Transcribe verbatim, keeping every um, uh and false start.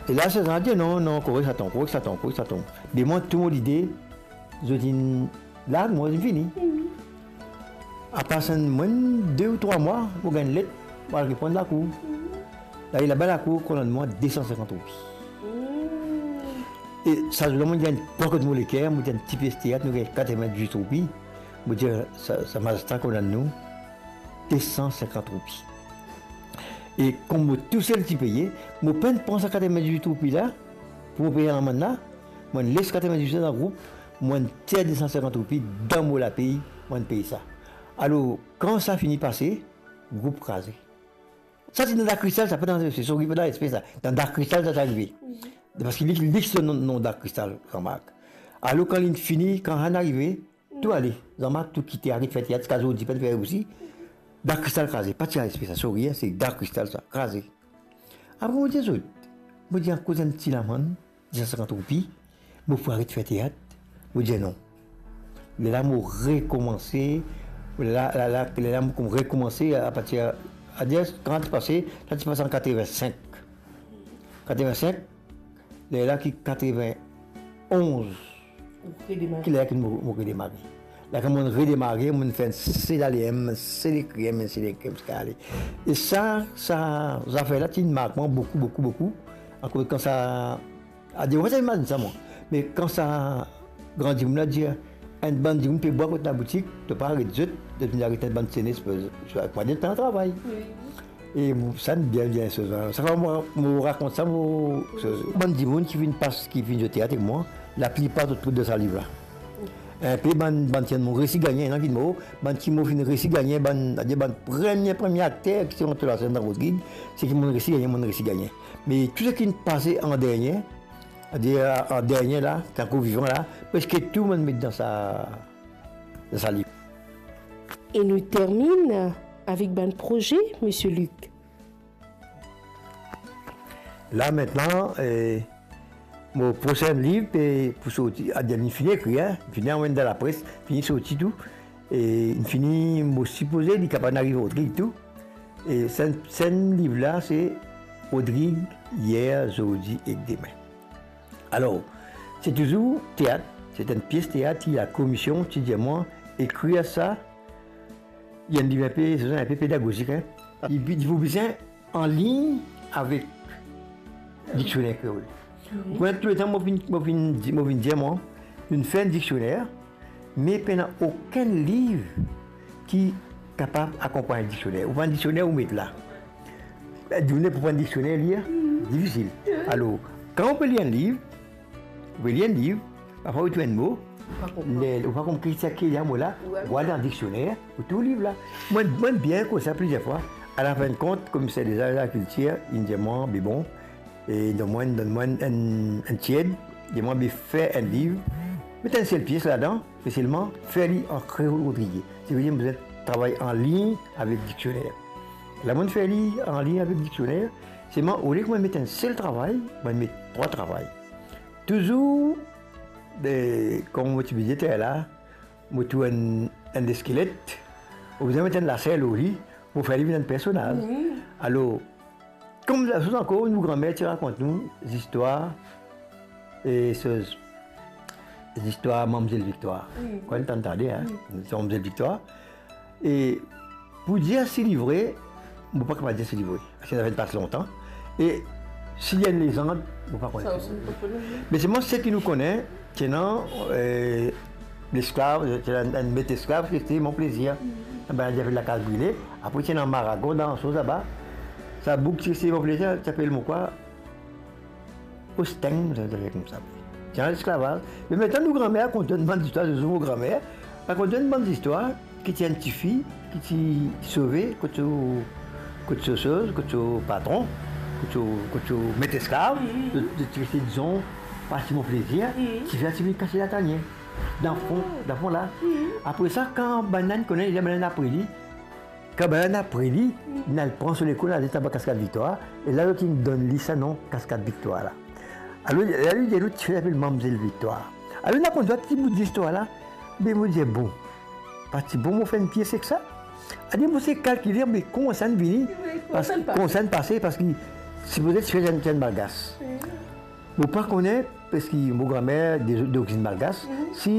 E la, sa dir, "Non, non, korek sa tonbe, korek sa tonbe, korek sa tonbe." Be mwa, tou mo lide, zot inn larg mwa, zot inn fini. Apar sa, mwa de ou trwa mwa, mo gagn let, mo al reponn lakour. La, laba lakour kondann mwa de san sinkant roupi. E sa zour la, mo gagn pwa kot mo leker, mo gagn ti pies teat, nou gagn katrevin-diz-wit roupi. Mo dir, "Sa, sa mazistra kondann nou de san sinkant roupi." E kouma mo tousel ti peye, mo pa'nn pran sa katrevin-diz-wit roupi la, pou mo pey lamann la, mo'nn les katrevin-diz-wit dan group, mo'nn tir de san sinkant roupi dan mo lapey, mo'nn pey sa. Alor, kan sa fini pase, group kraze. Sa ti dan Dark Crystal, sa pa dan, se sori, pa dan SP sa. Dan Dark Crystal sa, sa arive. Parski li, li ti donn non, non Dark Crystal, Jean-Marc. Alor, kan linn fini, kan Ann arive, tou ale. Jean-Marc tou kite, aret fer teat, ziska zordi pa'nn fer osi. Dark Crystal kraze, pa ti dan SP sa, sori, se Dark Crystal sa, kraze. Apre mo dir zot, mo dir akoz enn ti lamann, de san sinkant roupi, mo pou aret fer teat, mo dir non. Lerla mo rekoumanse, la, la, la, lerla mo koum-, rekoumanse apartir, adir, kan ti pase, sa ti pase an katrevin-sink. Katrevin-sink, lerla ki katrevin-onz, ou redemare. Ki lerla ki mo, mo redemare. La kan mo'nn redemare, mo'nn fer enn sel ale, enn sel ekrir, enn sel ekrir, ziska ale. E sa, sa zafer la ti mark mwa boukou, boukou, boukou. Akoz kan sa, adir, mo pa ti imazinn sa mwa. Me kan sa gran dimoun la dir, enn bann dimoun pe bwar kot laboutik, to pa aret zot, zot vinn aret enn bann senes, kouma dir, pa travay. Wi. E mo, sa enn bien, bien soz, sa mo, mo rakont sa, mo, bann dimoun ki finn pas, ki finn zwe teat ek mwa, laplipar zot trouv dan sa liv la. Enpe bann, bann ki mo resi gagne, ena ki mor, bann ki mo finn resi gagne, bann, adir bann premie, premie akter ki ti rant lor lasenn dan Rodrig, seki mo'nn resi gagne, mo'nn resi gagne. Me tou seki finn pase an dernie, adir an dernie la, ki ankor vivan la, preske tou mo'nn met dan sa, dan sa liv. E nou terminn avek bann proze, Misie Luc. La, aster, eh, mo prosin liv pe pou sorti, adir, linn fini ekrir, hein, fini anvoy dan lapres, fini sorti tou. E fini, mo sipoze li kapav ariv Rodrig tou. E sa, sa liv la, se Rodrig, yer, zordi ek demin. Alor, se touzour teat, se enn pies teat ki lakomision ti dir mwa, ekrir sa, li enn liv inpe, se inpe pedagozik, hein. Li, li pou bizin an lign avek diksioner kreol. Wi. Ou konn touletan mo vinn, mo vinn di-, mo vinn dir mwa, nou fer enn diksioner, me pena okenn liv ki kapav akonpagn diksioner. Ou pran diksioner, ou met la. Dimoun pou pran diksioner, lir, difisil. Alor, kan ou pe lir enn liv, ou pe lir enn liv, parfwa ou trouv enn mo, ou pa konpran. Ou pa konpran ki sa ki lir mo la, ou al dan diksioner, ou trouv liv la. Mwa, mwa bien konn sa plizier fwa. Alafinn kont, komiser deza, lagrikltir, inn dir mwa, be bon, e donn mwa, donn mwa enn, enn tied, dir mwa, be fer enn liv, met enn sel pies ladan, me selman fer li an kreol rodrigye. Savedir mo bizin travay an lign avek diksioner. La mo'nn fer li an lign avek diksioner, selman olie ki mo'nn met enn sel travay, mo'nn met trwa travay. Touzour, be, kouma mo ti bizin fer la, mo trouv enn, enn leskelet, mo bizin met enn laser lor li, mo fer li vinn enn personaz. Wi. Alor, kouma sa, soz ankor, nou granmer ti rakont nou zistwar, e soz, zistwar Mamzel Viktwar. Wi. Kan ou tann tande, hein, wi, Mamzel Viktwar. E pou dir si li vre, mo pa kapav dir si li vre. Parski sa finn pas lontan. E si li enn lezand, mo pa kone. Sa osi, mo pa kone. Me selman seki nou kone, ti ena, eh, lesklav, ti ena enn met esklav, ki ti Mon Plaisir. Mhm. Enn bann ti apel Lakaz Brile. Apre ti ena Maragon, dan soz laba. Sa boug ki ti Mon Plaisir, ti apel mo kwa? Osteng, sa, sa fer koumsa. Ti ena lesklavaz. Me aster nou granmer rakont enn bann zistwar, zour mo granmer rakont enn bann zistwar ki ti enn tifi ki ti sove kot so, kot so soz, kot so patron, kot so, kot so met esklav, mhm, de, de, de, dizon, pa ti Mon Plaisir, mhm, tifi la ti vinn kas latanie. Dan fon, ah, dan fon la. Mhm. Apre sa, kan bann la inn kone, bann la inn apre li, kan bann la inn apre li, mhm, inn al pran so lekol, al tabla Kaskad Viktwar, e la zot inn donn li sa nom Kaskad Viktwar la. Alor, la li dir nou tifi la apel Mamzel Viktwar. Alor, nou konn sa ti bout zistwar la, be mo dir, bon, pa ti bon mo fer enn pies ek sa? Aster mo sey kalkile, be kouma sa inn vini, wi, kouma sa inn pase, parski Sipoze ti fer enn, enn malgas. Mo pa kone, parski mo granmer de, dorizinn malgas, si